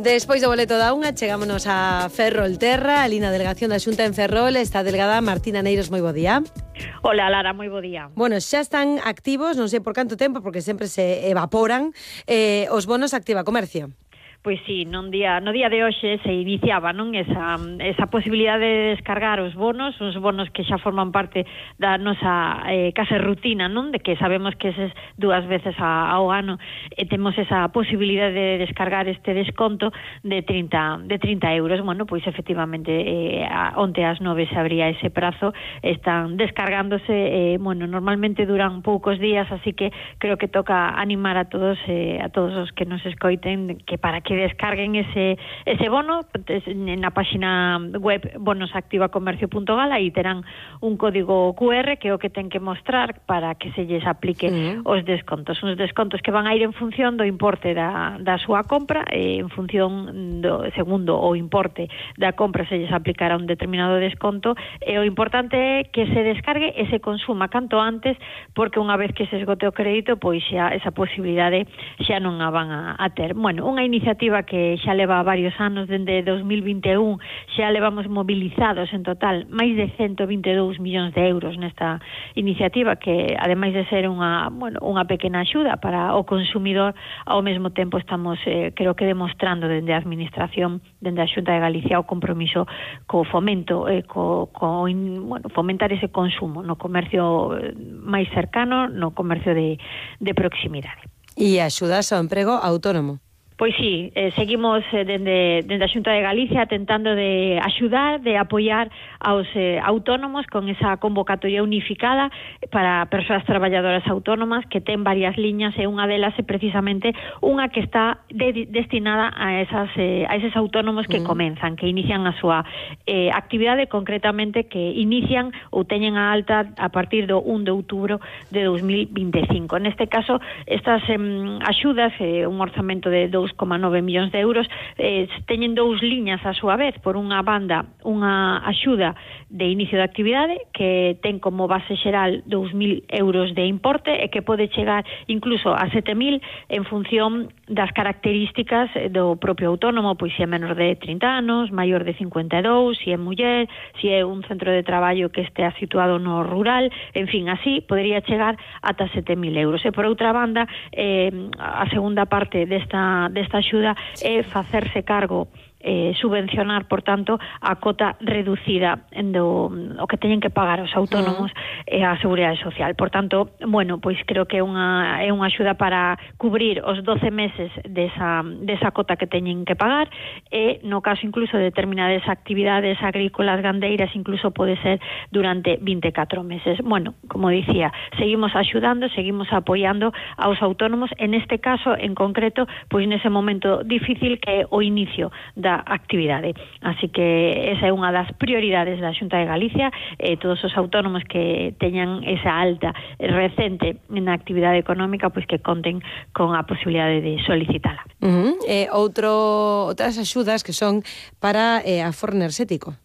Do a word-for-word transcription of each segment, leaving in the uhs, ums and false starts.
Despois do boleto da unha, chegámonos a Ferrolterra, ali na delegación da Xunta en Ferrol, está a delegada Martina Neiros, moi bo día. Hola, Lara, moi bo día. Bueno, xa están activos, non sei por canto tempo, porque sempre se evaporan, eh, os bonos Activa Comercio. Pois sí, non día, no día de hoxe se iniciaba non esa, esa posibilidade de descargar os bonos, uns bonos que xa forman parte da nosa eh, case rutina, non? De que sabemos que eses dúas veces a, ao ano e eh, temos esa posibilidade de descargar este desconto de trinta euros. Bueno, pois efectivamente eh, onte ás nove se abría ese prazo, están descargándose, eh, bueno, normalmente duran poucos días, así que creo que toca animar a todos eh, a todos os que nos escoiten que para que descarguen ese ese bono na páxina web bonosactivacomercio punto gal, aí terán un código cu erre que é o que ten que mostrar para que se lles aplique uh-huh. os descontos. Uns descontos que van a ir en función do importe da, da súa compra, e en función do segundo o importe da compra se lles aplicará un determinado desconto, e o importante é que se descargue e se consuma canto antes, porque unha vez que se esgote o crédito, pois xa esa posibilidade xa non a van a, a ter. Bueno, unha iniciativa que xa leva varios anos, dende dos mil vinte e un, xa levamos movilizados en total máis de ciento vinte e dous millóns de euros nesta iniciativa, que ademais de ser unha, bueno, unha pequena axuda para o consumidor, ao mesmo tempo estamos, eh, creo que demostrando dende a Administración, dende a Xunta de Galicia, o compromiso co fomento, eh, co, co in, bueno, fomentar ese consumo no comercio máis cercano, no comercio de, de proximidade. E axudas ao emprego autónomo. Pois sí, eh, seguimos eh, dende, dende a Xunta de Galicia tentando de axudar, de apoiar aos eh, autónomos con esa convocatoria unificada para persoas traballadoras autónomas, que ten varias liñas, e unha delas é precisamente unha que está de, destinada a esas eh, a eses autónomos que mm. comenzan, que inician a súa eh, actividade, concretamente que inician ou teñen a alta a partir do un de outubro de dos mil vinte e cinco. Neste caso, estas eh, axudas, eh, un orzamento de dous coma nove millóns de euros, eh, teñen dous liñas a súa vez. Por unha banda, unha axuda de inicio de actividade que ten como base xeral dous mil euros de importe e que pode chegar incluso a sete mil en función das características do propio autónomo, pois se é menor de trinta anos, maior de cincuenta e dous, se é muller, se é un centro de traballo que estea situado no rural, en fin, así podería chegar ata sete mil euros. E por outra banda, eh, a segunda parte desta desta axuda é facerse cargo, eh, subvencionar, por tanto, a cota reducida do o que teñen que pagar os autónomos e uh. a Seguridade Social. Por tanto, bueno, pois creo que é unha é unha axuda para cubrir os doce meses desa desa cota que teñen que pagar, e no caso incluso de determinadas actividades agrícolas, gandeiras, incluso pode ser durante vinte e catro meses. Bueno, como dicía, seguimos axudando, seguimos apoiando aos autónomos, en este caso en concreto, pois nese momento difícil que é o inicio da actividade. Así que esa é unha das prioridades da Xunta de Galicia, e eh, todos os autónomos que teñan esa alta recente na actividade económica, pois que conten con a posibilidade de solicitala. Uh-huh. Eh, outro, outras axudas que son para eh, aforro enerxético.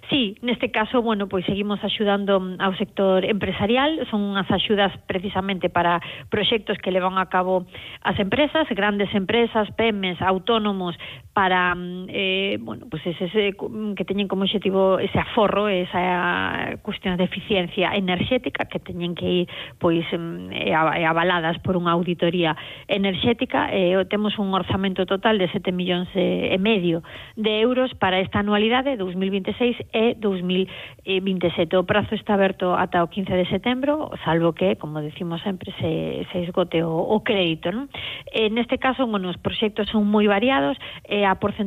Sí, neste caso, bueno, pois seguimos axudando ao sector empresarial. Son unhas axudas precisamente para proxectos que levan a cabo as empresas, grandes empresas, pymes, autónomos, para eh, bueno, pues ese, ese, que teñen como objetivo ese aforro, esa cuestión de eficiencia enerxética, que teñen que ir pois eh, avaladas por unha auditoría enerxética. Eh, temos un orzamento total de sete millóns e medio de euros para esta anualidade dos mil vinte e seis e dos mil vinte e sete. O prazo está aberto ata o quince de setembro, salvo que, como decimos sempre, se, se esgote o, o crédito, non? Eh, neste caso, bueno, os proxectos son moi variados, e a porcentaxe